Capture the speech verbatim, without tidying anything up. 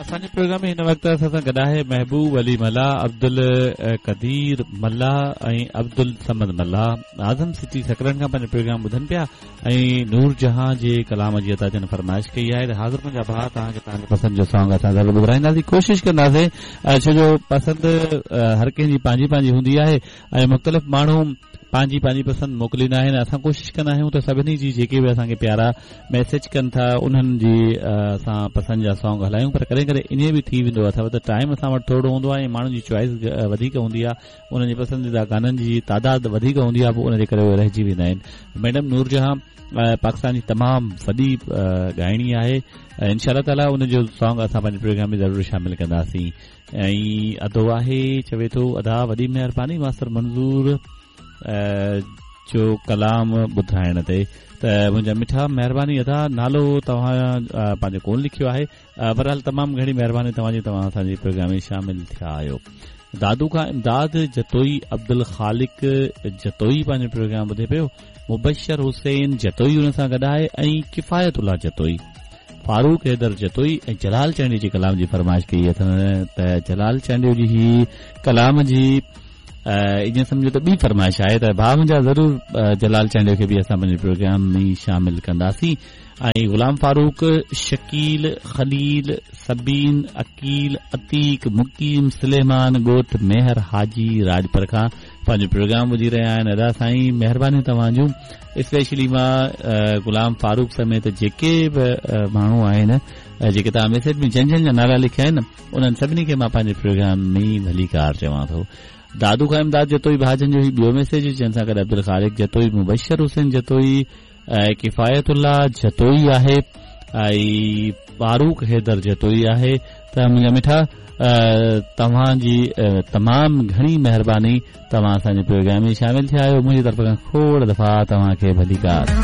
اسان جي پروگرام ۾ هن وقت اسان سان گڏ آهي محبوب علي ملاح، عبدل قدير ملاح ۽ عبدل صمد ملاح اعظم سٽي سڪرنڊ کان پنهنجو پروگرام ٻڌن پيا ۽ نور جهان جي ڪلام جي ادا جن فرمائش ڪئي آهي ته حاضر منهنجا ڀاء توهان کي توهان جي پسند جو سانگ اسان ضرور ٻڌرائينداسين، ڪوشش ڪنداسين، ڇو جو پسند هر ڪنهن جي پنهنجي پنهنجي هوندي آهي ۽ مختلف ماڻهو پنهنجي پنهنجي پسند موڪليندا آهن. اسان ڪوشش ڪندا آهيون ته سڀني جي جيڪي به اسان کي پيارا ميسيج ڪن ٿا انهن جي اسان پسند جا سانگ هلايون، پر ڪڏهن ڪڏهن ائين به ٿي ويندو اٿو ته ٽائيم اسان وٽ ٿورو هوندو آهي ۽ ماڻهن جي چوائس وڌيڪ هوندي آهي، انهن جي پسنديده گانن جي تعداد وڌيڪ هوندي آهي، پوء ان جي ڪري اهي رهجي ويندا آهن. ميڊم نور جهان پاڪستان جي تمام وڏي ڳائڻي آهي، انشاء الله تعاليٰ ان جو سانگ اسان پنهنجي پروگرام ۾ ضرور شامل ڪنداسين. ۽ ادو آهي چوي ٿو ادا وڏي مهرباني ماستر منظور جو ڪلام ٻڌائڻ تي. ته منهنجا مٺا مهرباني ادا، نالو توهان پنهنجو ڪونه لکيو آهي، بهرحال تمام گهڻي مهرباني توهان جي، توهان اسان جي پروگرام ۾ شامل ٿيا آهيو. دادو کان امداد جتوئي، عبدل خالق جتوئي پنهنجو پروگرام ٻڌي پيو، مبشر حسين جتوئي ان سان گڏ آهي ۽ ڪفايت الله جتوئي، فاروق حيدر جتوئي ۽ جلال چانڊيو جي ڪلام جي فرمائش ڪئي اٿن. ته جلال چانڊيو جي هي ڪلام جي ائين سمجهو ته ٻي فرمائش آهي ته ڀاء منهنجا ضرور جلال چانڊيو کي به اسان پنهنجي پروگرام ۾ شامل ڪنداسين. ۽ غلام فاروق، شڪيل، خليل، سبين، عقيل، عتيق، مقيم، سليمان ڳوٺ ميهر حاجي راڄپر کان پنهنجو پروگرام ٻڌي رهيا آهن. ادا سائين مهرباني توهان جون، اسپيشلي مان غلام فاروق سميت جيڪي به ماڻهو آهن جيڪي توهان ميسيج ۾ جن جن جا نالا لکيا آهن انهن سڀني کي مان پنهنجي پروگرام ۾ ڀليڪار چوان ٿو. دادو کان امداد جتوئي ڀاجن جو هي ٻيو ميسيج، جنهن سان گڏ عبدالخالق جتوئي، مبشر حسين جتوئي، ڪفايت الله جتوئي آهي ۽ فاروق حيدر جتوئي آهي. ته منهنجا مٺا توهان جي تمام گهڻي مهرباني، توهان اسان جي پروگرام ۾ شامل ٿيا آهيو. منهنجي طرف کان کوڙ دفعا توهان کي ڀليڪار.